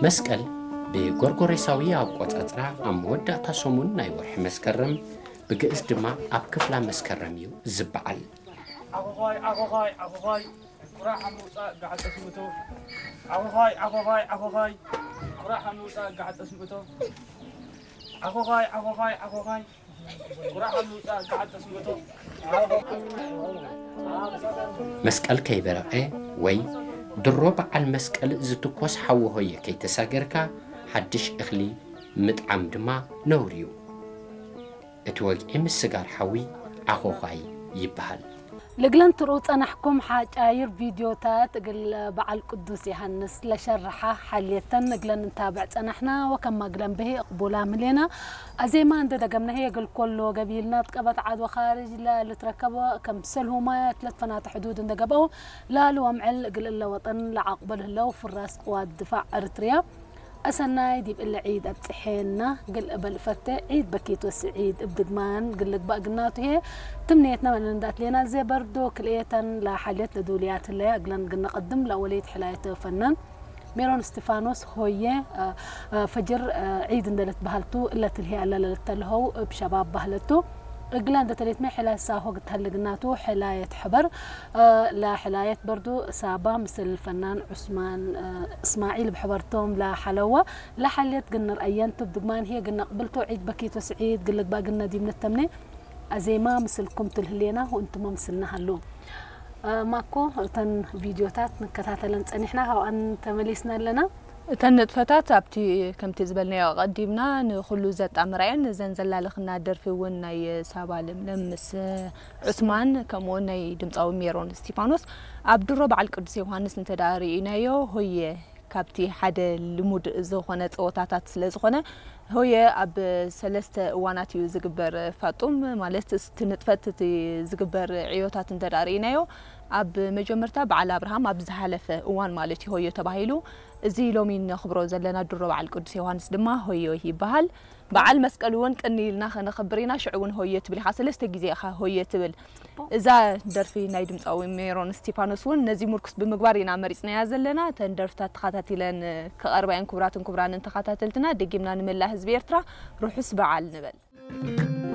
መስቀል ብጎርጎሬሳዊ ኣቆጻጽራ ኣብ መወዳእታ ሰሙን ናይ ወርሒ መስከረም፣ ብግእዝ ድማ ኣብ ክፍላ መስከረም እዩ ዝበዓል። ዓኾዃይ፣ ዓኾዃይ፣ ዓኾዃይ፣ ቁራዕ ሓምውፃእ ጋዕጠ ስምእቶ። ዓኾዃይ፣ ዓኾዃይ፣ ዓኾዃይ፣ ቁራዕ ሓምውፃእ ጋዕጠ ስምእቶ። ዓኾዃይ፣ ዓኾዃይ፣ ዓኾዃይ፣ ቁራዕ ሓምውፃእ ጋዕጠ ስምእቶ። መስቀል ከይበረቐ ወይ ድሮ በዓል መስቀል ዝትኮስ ሓዊ ሆየ ከይተሳገርካ ሓድሽ እኽሊ ምጥዓም ድማ ነውሪ እዩ። እቲ ወግዒ ምስጋር ሓዊ ዓኾዃይ ይበሃል። ልግለን ትርኡ ጸናሕኩም ሓጫይር ቪድዮታት እግል በዓል ቅዱስ ዮሃንስ ለሸርሓ ሓልየተን እግለን እንታብዕ ጸናሕና ወከማ እግለን ብሂ እቕቡላ ምህሌና። ኣዜማ እንደ ደገምና ህየ እግል ኮሎ ገቢልና ጥቀበት ዓድ ወኻርጅ ለልትረከቦ ከም ሰልሁማያ ትለት ፈናተ ሕዱድ እንደ ገብአው ላሉ ወምዕል እግል እለ ወጠን ለዓቕበል ህለው ፍራስ ቅዋት ድፋዕ ኤርትርያ። ኣሰናይ ዲብ እለ ዒድ ኣብጽሔና። ግል እበል ፈቴ ዒድ በኪት ወስዒድ እብ ድግማን ግል ልግባእ ግናቱ ህየ ትምኔትና መለንዳት ሌና። እዜ በርዶ ክልኤተን ለሓልየት ለዱልያት ህለያ እግለን ግነቐድም ለወሌት ሕላየት ፈናን ሜሮን እስቲፋኖስ ሆየ፣ አ፣ አ፣ ፈጅር፣ አ፣ ዒድ እንደለት በሃልቱ እለት ልሄ ኣለለለት ተልኸው እብ ሸባብ ባህለቱ እግላ እንደ ተሌትመ ሕላየት ሳሆ ግታል ግናቱ ሕላየት ሕበር፣ አ፣ ለሕላየት በርዶ ሳባ ምስል ፈናን ዑስማን፣ አ፣ እስማዒል ብሕበርቶም ለሓለዋ ለሓልየት ግንር ኣየንቱ ብድግማን ህየ ግነቕብልቶ ዒድ በኪት ወስዒድ ግልግባ ግነ ዲብ ንተምኔ ኣዜማ ምስልኩም ትልህሌና ወእንቱመ ምስልና ሃሉ። አ፣ ማኮ እተን ቪድዮታት ንከታተለን ጸኒሕና ካብኣን ተመሊስና ኣለና። እተን ንጥፈታት ኣብቲ ከምቲ ዝበልናዮ ኣቐዲምና ንኹሉ ዘጣምራ እየን። እዘን ዘላልኽና ደርፊ እውን ናይ ሳባ ለምለም ምስ ዑስማን ከምኡውን ናይ ድምፃዊ ሜሮን እስቲፋኖስ ኣብ ድሮ በዓል ቅዱስ ዮሃንስ እንተ ደኣ ርኢናዮ ሆየ ካብቲ ሓደ ልሙድ ዝኾነ ፀወታታት ስለ ዝኾነ ሆየ ኣብ ሰለስተ እዋናት እዩ ዝግበር ፋጡም ማለት እቲ ንጥፈት እቲ ዝግበር ዕዮታት እንተ ደኣ ርኢናዮ ኣብ መጀመርታ በዓል ኣብርሃም ኣብ ዝሓለፈ እዋን ማለት እዩ ሆዮ ተባሂሉ። እዚ ሎሚ ነኽብሮ ዘለና ድሮ በዓል ቅዱስ ዮሃንስ ድማ ሆዮ ይበሃል። በዓል መስቀል እውን ቅኒ ኢልና ከነኽብር ኢና። ሽዑ እውን ሆየ ትብል ኢኻ፣ ሰለስተ ግዜ ኢኻ ሆየ ትብል። እዛ ደርፊ ናይ ድምፃዊ ሜሮን እስቲፋኖስ እውን ነዚ ምርኩስ ብምግባር ኢና መሪፅናያ ዘለና። እተን ደርፍታት ተኸታቲለን ክቐርባ እየን። ክቡራትን ክቡራንን ተኸታተልትና ደጊምና ንመላእ ህዝቢ ኤርትራ ርሑስ በዓል ንበል።